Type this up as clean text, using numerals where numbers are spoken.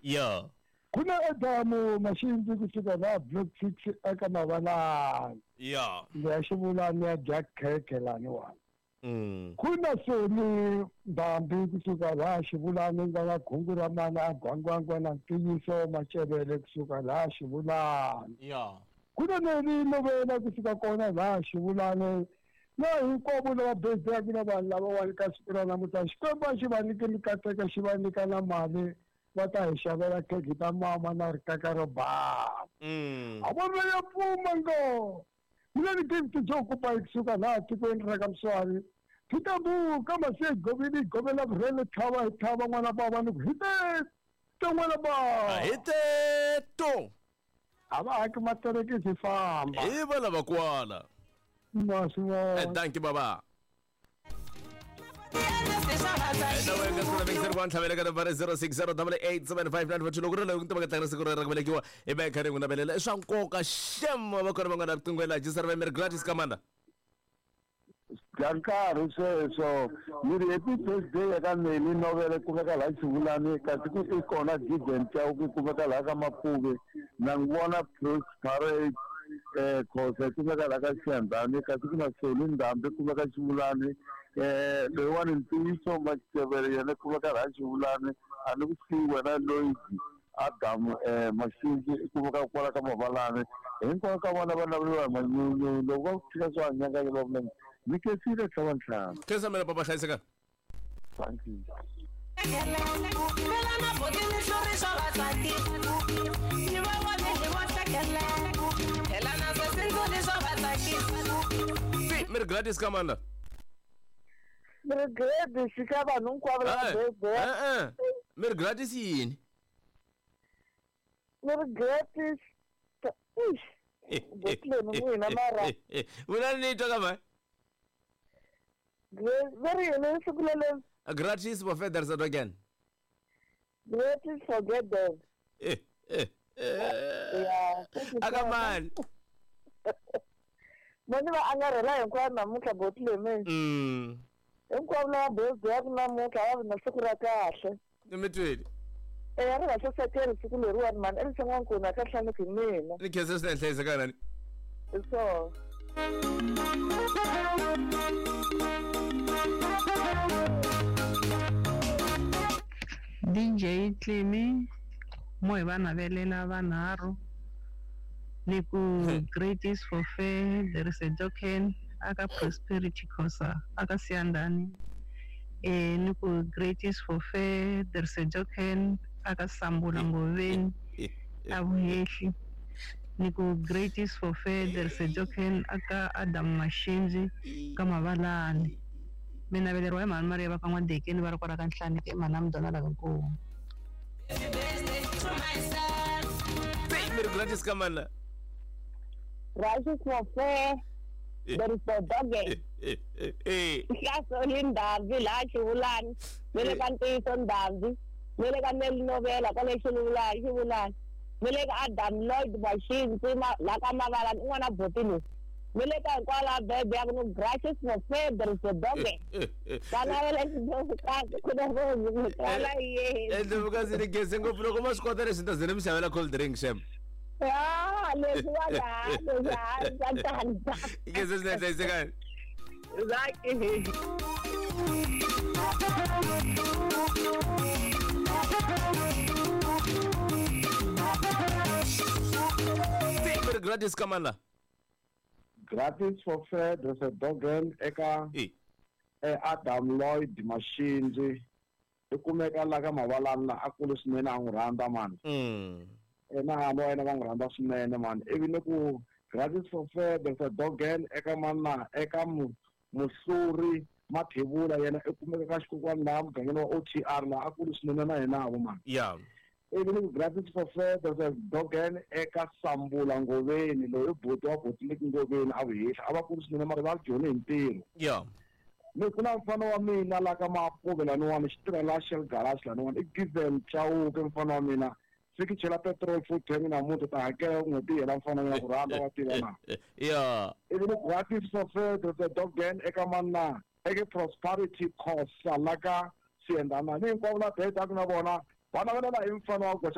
Ya. Ku na Adamu Maxindzi kusuka laha Block 6 eka Mavalani. Ya. Leya xivulani ya dya khekhe laniwani. Mm. Ku na Soni Ndhambi kusuka laha Xivulani nga na khungu ra mana a gwangwangwa na ntiyiso Macevele kusuka laha Xivulani. Ya. Ku na Neli Novela kusuka kona laha Xivulani na hinkwavo lava bezaka na vanhu lavawani ka siku ra namuntlha Xikwembu a xi va nyike mikateko xi va nyika na mali va ta hi xavela khekhe ta mama na rikaka ro bava. Mm. A vona ya pfuma ngo. Mina ni Gift Joe Kupa kusuka laha tikweni ra ka Mswari. Phitambu ka masiya govini govela vurhele thava hi thava n'wana bava ni ku hi te n'wana bava. Hi teto. A va haki materekisi famba. Hi va lava kwala. Ma swi vona. Dankie baba. Na wena ka siku ra wa ntlhavela ka nambara 0608875942 loko ri loko ku tiva ka siku ra ku velekiwa i va kha ri n'wi navelela i swa nkoka xem va kona van'wana riqingho la jisara va meri gratis kamanda bya nkarhi sweswo ni ri happy birthday eka Neli Novele kumeka laha Xivulani kasi ku i kona Gideon Chauke kumeka laha ka Mapuve na n'wi vona Prosperate Khosa kumeka laha ka Xiyandhani kasi ku na Soli Ndhambi kumeka Xivulani loyiwani Ntiyiso Macevele yena kumeka laha Xivulani a ni ku siyi wena Lloyd Adam Maxindzi i kumeka kwala ka Mavalani hinkwavo ka vona va naveriwa hi manyunyu loko va ku tshika swo hanyanganya va vula ni khensile tlhava ntlhanu. Khensa mina papa hlayiseka. Thank you. Meri gratis kamanda. Meri gratis ka vanhu hinkwavo lava birthday. Meri gratis yini? Meri gratis. Botleni n'wina mara. Wena ni twa ka mani? Veri yini siku lelo? Gratis for feathers again. Gratis for them. Yeah. Aka mani? Mani va angarhela hinkwavo namuntlha botleni. Hinkwavo lava birthday ya ku namuntlha va vi na siku ra kahle. Ni tweli. Ri va hlohleteli siku leriwani mani elison'wankulu a ka hlaniki hi mina. Ni khensa swinene hlayiseka nani. Hi swona. DJ Clemi mo hi va navelela vanharhu ni ku great is for fair there is a token aka Prosperity Khosa aka Siyandhani ni ku great is for fair there is a token aka Sambula Ngoveni a Vuhehli ni ku great is for fair there is a token aka Adam Maxindzi ka Mavalani. Mina veleriwa hi mhani Maria va ka N'wadekeni va ri kwala ka Nhlaniki i mhani Mdona la ka Nkomu. Meri gratis kamanda. Righteous for fair there is a dog. Hlasoli Ndhambi laha Xivulani ni le ka Ntiyiso Ndhambi ni le ka Neli Novela kwale Xivulani Xivulani ni le ka Adam Lloyd Maxindzi laha ka Mavalani i n'wana boti loyi ni le ka hinkwavo lava birthday ya ku ni gracious for fair there is a dog. Va navela xindlovukazi ku na rose yena. Ndlovukazi ni geze ngopfu loko ma swi kota leswi ni ta ze ni mi xavela cold drink xem. Ah, leswi wa laha leswi swa tandza. Geze swinene hlayisekani. Zaki. Meri gratis kamanda. Gratis for fair there's a dogen eka Adam Lloyd Maxindzi i kumeka la ka Mavalani la a kulu swinene a n'wi rhandza mani. Na hana wa yena va n'wi rhandza swinene mani. Ivi ni ku gratis for fair there's a dogen eka mana eka Muhluri Mathebula yena i kumeka ka xikokwani laha mugangeni wa OTR laha a kulu swinene na yena vo mani. Yeah. Ivi ni ku gratis for fair there's a dogen eka Sambula Ngoveni loyi i buti wa Botlek Ngoveni a Vuhehli a va kulu swinene mara va joni hi ntirho. Yeah. Ni ku na mfana wa mina la ka Mapuve laniwani xi tirha la Shell Garage laniwani i Given Chauke mfana wa mina fiki chela petrol full tank namuntlha ta hakela n'hweti yi hela mfana wa mina ku rhandza wa tiva na. Yeah. Ivi ni gratis for fair there's a dogen eka mana eka Prosperity Khosa la ka Siyandhana ni hinkwavo la birthday na vona va navelela hi mfana wa goxa.